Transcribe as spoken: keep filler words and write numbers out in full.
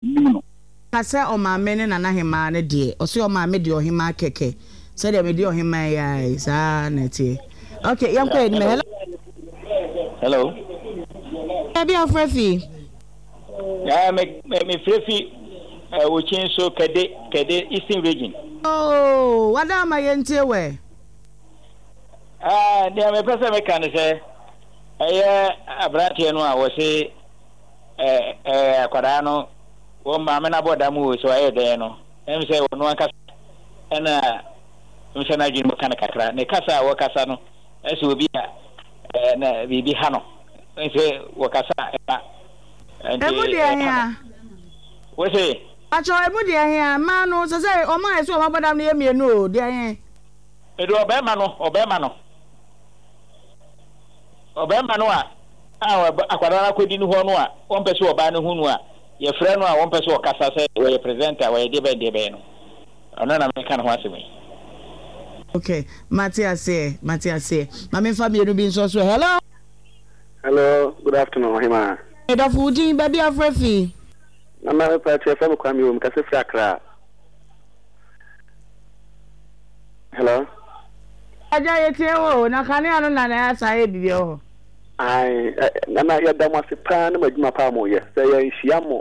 Nim no. Ka sɛ ɔmaame ne nana hemaa no deɛ, ɔse ɔmaame deɛ ɔhemaa kɛkɛ, sɛdeɛ mede ɔhemaa yi ara yi, saa na ɛteɛ. Ok, yɛnkɔ yɛn anim. Hello. Hello. Baabi a wofrɛ fi? Yeah, me me me frɛ fi uh, Okyin so Kɛde Kɛde Eastern Region. Oh, wada ama yɛntie wɛ. Ah, nea mepɛ sɛ meka ne sɛ ɛyɛ aberanteɛ no a wɔse ɛɛ ɛɛ akwadaa no wɔn maame no abɔ dam o, sɛ ɔyɛ dɛn no, ɛm sɛ ɔno ankasa ɛna ɛm sɛ n'adwene mu ka no kakra. Ne kasa a wɔkasa no, ɛsɛ obi a ɛɛ na biribi ha no, ɛsɛ wɔkasa a ɛba nti Emu deɛ ɛha no. hea? Wose Atwɔ emu deɛ hea? Mmaa no sɛ sɛ ɔmo a ɛsɛ ɔmo abɔ dam no yɛ mmienu o, deɛ he? Mede ɔbarima no, ɔbarima no, ɔbarima no a a akwadaa no akɔdi no hɔ no a wɔmpɛ sɛ ɔbaa no hu no a yɛfrɛ no a wɔmpɛ sɛ ɔkasa sɛ wɔyɛ presenter, wɔyɛ deɛ bɛn deɛ bɛn no, ɔno na meka ne ho asɛm yi. Ok, mate aseɛ, mate aseɛ. Ma memfa mmienu bi nso so. Hello. Hello, good afternoon, Ɔhemaa. Medɔfo, wo din, baabi a wofrɛ fi? Nana, mepa kyɛ, fɛ me Kwame o, mekasa firi Accra. Hello. Agya, yɛtie wo o, na kanea no na na asa ayɛ biribi wɔ hɔ. Ae, nana, yɛda mo ase paa ne mo adwuma paa mo yɛ. Sɛ yɛnhyia mo